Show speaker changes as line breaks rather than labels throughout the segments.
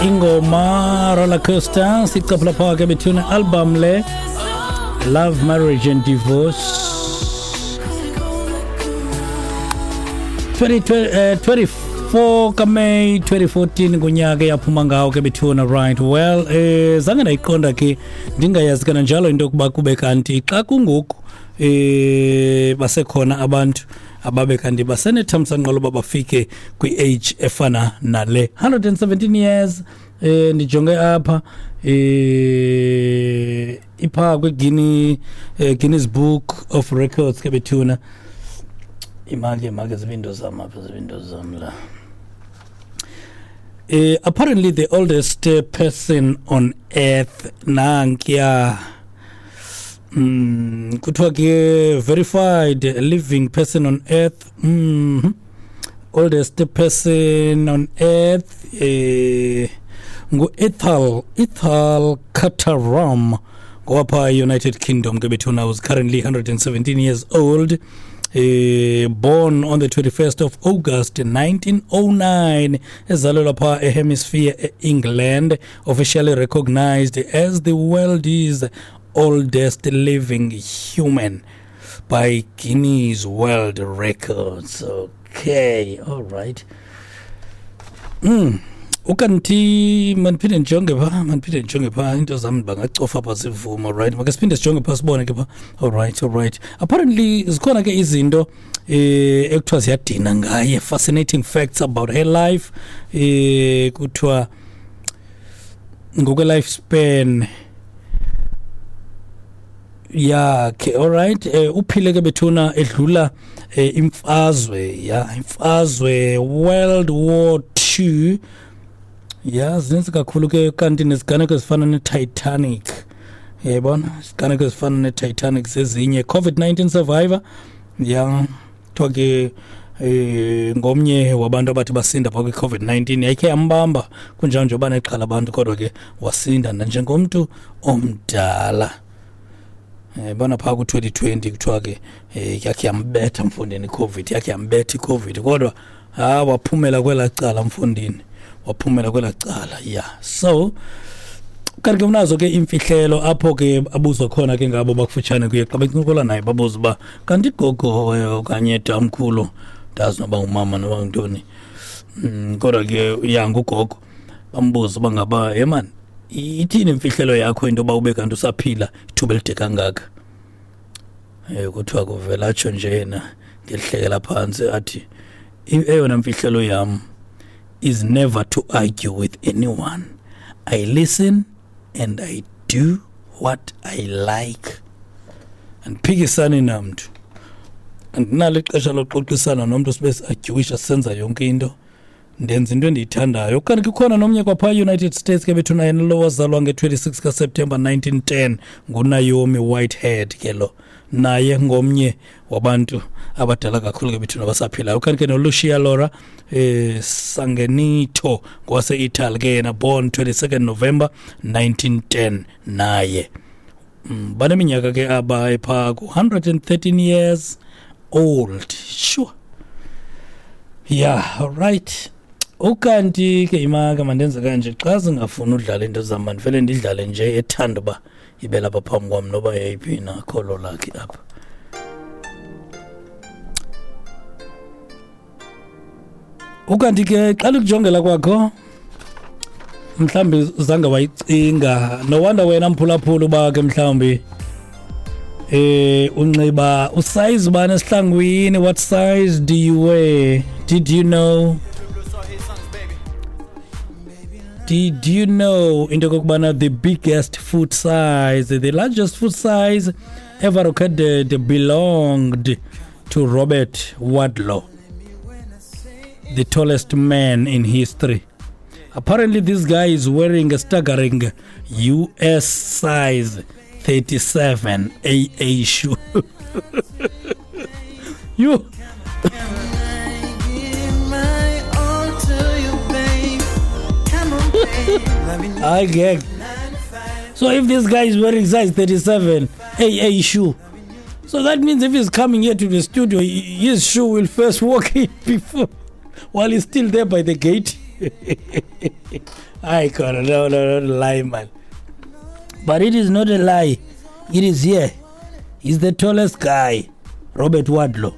Ingoma Roller Coaster sicaphula phaa ke bethuna album le Love, Marriage and Divorce 24 kaMay 2014 ngunyaka eyaphuma ngawo ke bethuna. Right, well, zange ndayiqonda ke, ndingayazi kananjalo into yokuba kube kanti xa kungoku basekhona abantu ababe kanti basenethamsanqa loba bafike kwi-age efana nale 117 years. Ndijonge apha ipha kwi-Guinness Guinness Book of Records ke bethuna. Imake make zibindo zam apha, zibindo zam la. Apparently the oldest person on earth nankiya. Kuthiwa ke verified living person on earth, oldest person on earth ngu-Ethel Carter Ram ngowapha United Kingdom ke bethuna, was currently 117 years old. Born on the 21st of August 1909, ezalelwa pha eHemisphere e-England, officially recognized as the world's oldest living human by Guinness World Records. Okay, all right. Ukanti mandiphinde ndijonge phaa, mandiphinde ndijonge phaa into zam, bangacofa pha zivuma. Right, make siphinde sijonge phaa sibone ke phaa. All right, apparently zikhona ke izinto ekuthiwa ziyadina ngaye, fascinating facts about her life. Kuthiwa ngokwe-life span yakhe, alright, uphile ke bethuna edlula imfazwe ya imfazwe World War II. Ya, zininzi kakhulu ke, kanti neziganeko ezifana ne-Titanic, uyayibona, iziganeko ezifana ne-Titanic zezinye. COVID-19 survivor, ya, kuthiwa ke ngomnye wabantu abathi basinda phaa kwi-COVID-19. Yayikhe yambamba kunjalo nje uba nexhala abantu, kodwa ke wasinda nanjengomntu omdala. Bona phaa ku-2020 kuthiwa ke yakhe yambetha mfondini iCOVID, yakhe yambetha iCOVID, kodwa ha waphumela kwelaa cala mfondini, waphumela kwelaa cala. Ya, so kanti ke unazo ke imfihlelo apho ke abuzwa khona ke ngabo bakufutshane kuye xa bencokola naye, babuza uba kanti gogo okanye tamkhulu, ndazi noba ngumama noba ngintoni, kodwa ke ya ngugogo, bambuza uba ngaba yemani ithini imfihlelo yakho into yoba ube kanti usaphila ithuba elide kangaka. Kuthiwa kuvela atsho nje yena ngelihlekela phantsi athi, "Eyona mfihlelo yam is never to argue with anyone. I listen and I do what I like." Andiphikisani namntu, andinalo ixesha loxoxisana nomntu, sibe si-arguisha senza yonke into, ndenza into endiyithandayo. Kanti kukhona nomnye kwaphaa United States ke bethuna, yena lo wazalwa nge-26 kaSeptemba 1910, nguNaomi Whitehead ke lo, naye ngomnye wabantu abadala kakhulu ke bethuna abasaphilayo. Kanti ke noLucia Laura Sangenito ngowase-Italy ke yena, born 22 November 1910 naye. Baneminyaka ke aba ephaa ku-113 years old, sure. Yeah, right. Ukanti ke imaka mandenze kanje, xa zingafuni udlala into zam mandivele ndidlale nje ethanda uba ibe lapha phambi kwam noba yeyiphi na kholo lakhe apha. Ukanti ke xa likujongela kwakho mhlawumbi zange wayicinga, no wonder wena mphulaphula uba ke mhlawumbi unxiba usize bani esihlangwini. What size do you wear? Did you know into kokubana the biggest foot size, the largest foot size ever recorded belonged to Robert Wadlow, the tallest man in history? Apparently this guy is wearing a staggering US size 37 AA shoe. You
My all to you, babe. Come on, babe. Let me
I get. So if this guy is wearing size 37 AA shoe, so that means if he's coming here to the studio, his shoe will first walk in before, while he's still there by the gate. I got no, no, no lie, man. But it is not a lie. It is here. He's the tallest guy, Robert Wadlow,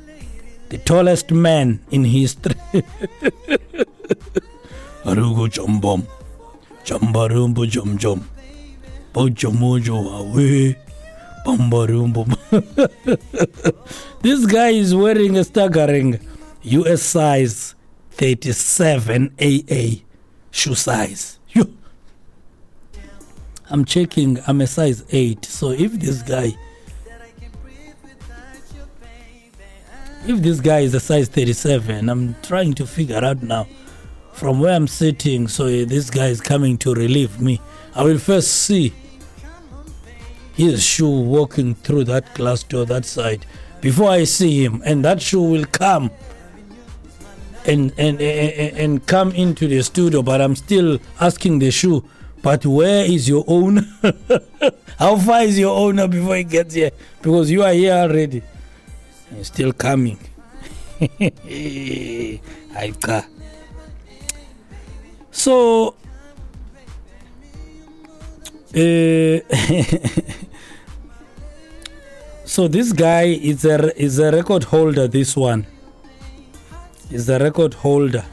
the tallest man in history. Arugo jumbom, jumbarumbo jum jum, bojomojo awe, bambarumbo. This guy is wearing a staggering US size 37 AA shoe size. I'm checking, I'm a size 8. So if this guy is a size 37, I'm trying to figure out now from where I'm sitting. So this guy is coming to relieve me. I will first see his shoe walking through that glass door, that side, before I see him, and that shoe will come and come into the studio. But I'm still asking the shoe, but where is your owner? How far is your owner before he gets here? Because you are here already. He's still coming. So so this guy is a record holder. This one is a record holder.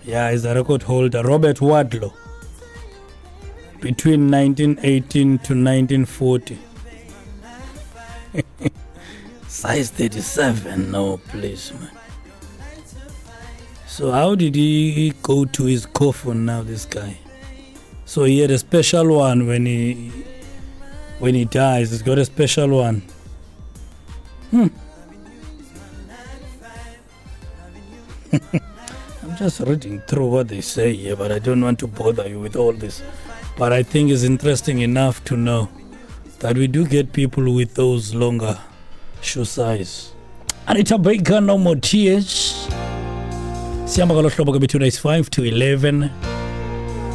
Yeah, he's a record holder. Robert Wadlow, between 1918 to 1940. Size 37, no, please, man. So how did he go to his coffin now, this guy? So he had a special one when he dies. He's got a special one. I'm just reading through what they say here, but I don't want to bother you with all this. But I think it's interesting enough to know that we do get people with those longer shoe size. Anita Baker, No More Tears. Siyamba ngalo hlobo ke bethu, it's 5 to 11.